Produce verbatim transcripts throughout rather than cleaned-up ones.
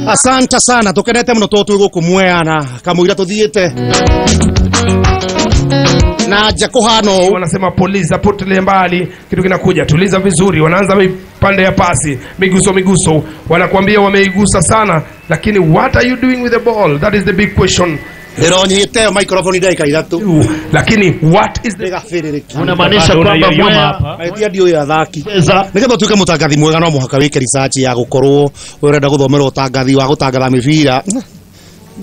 Asante sana, tukenete muno to twi guku Mwea kamũira tuthiite na nja kuhana ũũ. Wanasema polisi potelea mbali, kitu kinakuja, tuliza vizuri. Wanaanza pande ya pasi, miguso miguso, wanakuambia wameigusa sana, lakini what are you doing with the ball? That is the big question. Ndĩronyite microphone ndagĩka ithatũ, lakini what is the ndĩgabĩrĩrĩki. Unamaanisha kwamba Mwea hapa tia ndiũĩ athaki. Nĩgetha ũtuĩke mũtangathi mwega no mũhaka wĩke research ya gũkorwo ũrenda gũthomera ũtangathi wa gũtangatha mĩbira.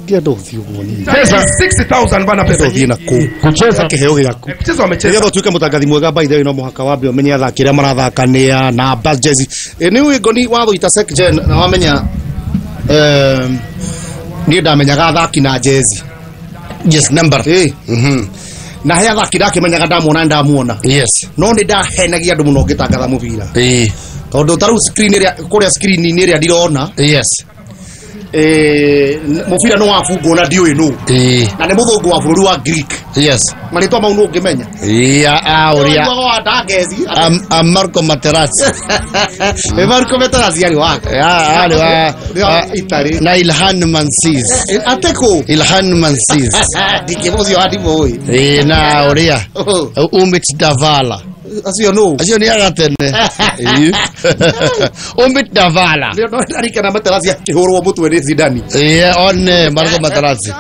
Ngĩenda ũthiĩ ũguo niĩ. sixty thousand bana pesa ũthiĩ na kũ kucheza kĩheo gĩaku. Kucheza wamecheza. Nĩgetha ũtuĩke mũtangathi mwega by the way no mũhaka wambe ũmenye athaki arĩa marathaka nĩa namba jezi. Nĩ ũĩ ngoni watho ita Secgen na wamenya niĩ ndamenyaga athaki na jezi. Yes, number. Eh. Mhm. Na he athaki ndakimenyaga ndamuona ndamuona. Yes. No nĩ ndahenagia andũ mũno ngĩtangatha mũbira. Eh. Tondũ ta rĩu screen ĩrĩa kũrĩa screen-inĩ ĩrĩa ndirona. Yes. Eh, mũbira nĩ wabungwo na ndiũĩ nũ. Eh. Na nĩ mũthũngũ wa bũrũri wa Greek. Yes. Marĩtwa mau nũ ũngĩmenya? Yeah, ah, ũrĩa. Wa Ndangeci. Am, am Marco Materazzi. Eh, Marco Materazzi arĩ wake. Ah, arĩ wa Italy. Na Ilhan Mansiz. Ateko. Ilhan Mansiz. Ndikĩmũcio andimũĩ. Eh, na ũrĩa. Umit Davala. Acio nũ? Acio nĩ agatene. Umit Davala. Nĩ ndarikana Materazzi akĩhũrwo mũtwe nĩ Zidane. Eh, one Marco Materazzi.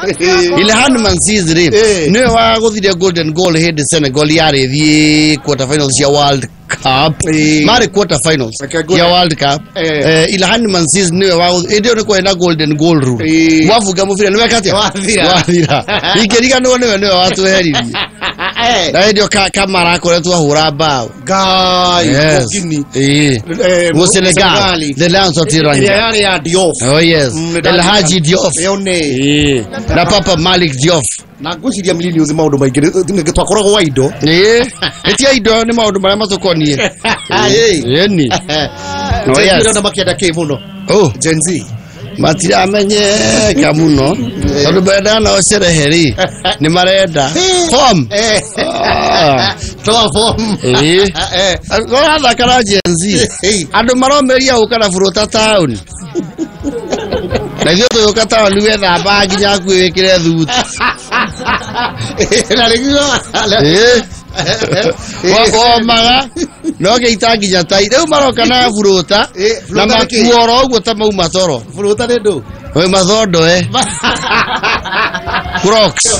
Ilhan Mansiz rĩ, nĩwe wagũthire golden goal hĩndĩ Senegal yarĩ thiĩ quarter finals ya World Cup. Marĩ quarter finals ya World Cup. Eh, Ilhan Mansiz nĩwe wa hĩndĩ ĩyo nĩ kwarĩ na golden goal rule. Mwafunga mũbira nĩ weka atĩa? Wathira. Wathira. Ingĩriganĩrwo nĩwe nĩwe watweheririe. Na hĩndĩ ĩyo Kamara akoretwo ahũra bao. Ngai, Gini. Eh. Mu Senegal, the Lions of Teranga. Ĩrĩa yarĩ ya Diouf. Oh yes. El Hadji Diouf. Ĩyo nĩ. Eh. Na Papa Malik Diouf. Na ngwĩciria millennials maũndũ maingĩ twakoragwo wa indo. Eh. Ĩtia indo nĩ maũndũ marĩa matũkoniĩ. Ĩni. No yes. Ndĩrona makĩenda kĩ mũno. Oh, Gen Z. Matiramenyeka mũno tondũ menda nao cerehe rĩ nĩ marenda form. Toa form. Eh. Ũrathaka na Gen Z. Andũ maromeria gũka na burũta taũni. Na ithuĩ tũgĩũka taũni wethamba nginya hakuhĩ wĩkĩre thuti. Na rĩu Eh. Wakomaga no gĩita nginya tai rĩu maroka na burũta na makuo oro ũguo ta mauma toro. Burũta nĩ ndũ? Oi mathondo eh. Crocs.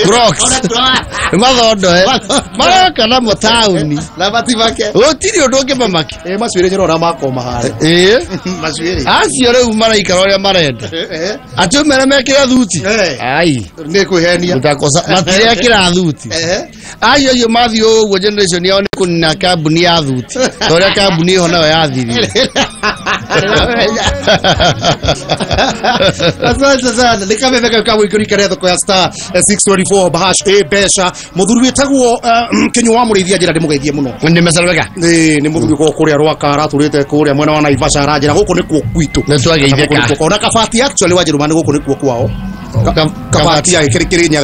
Crocs. Mathondo eh. Maroka namo taũni. Na matimake. Gũtirĩ ũndũ ũngĩmamake. Eh, macuĩrĩ njĩra makoma harĩa. Eh. Macuĩrĩ. Acio rĩu maraikara ũrĩa marenda. Atĩ ũmere mekĩre thuti. Ai. Nĩ kwĩhenia. Mutakosa matirekĩra thuti. Acio acio mathiĩ ũguo generation yao nĩ kũnina kambuni ya thuti. Ta ũrĩa kambuni ĩho nayo yathirire. Asante sana. Nĩ kameme kau ka gwĩkĩrĩka thoko ya star six twenty-four hash a mbeca. Mũthuri wĩtagwo Kĩnyua wa Mũrĩithia njĩra ndĩmũgeithie mũno. Nĩ mecarwega. Ĩĩ nĩ mũthuri ũkoragwo kũrĩa Rwaka aratũrĩte kũrĩa mwena wa Naivasha aranjĩra gũkũ nĩkuo gwitũ. Nĩ twageithĩka. Ona Kabati actually wa Njerumani gũkũ nĩkuo kwao. Kabati ya Kĩrĩ Kĩrĩnyaga.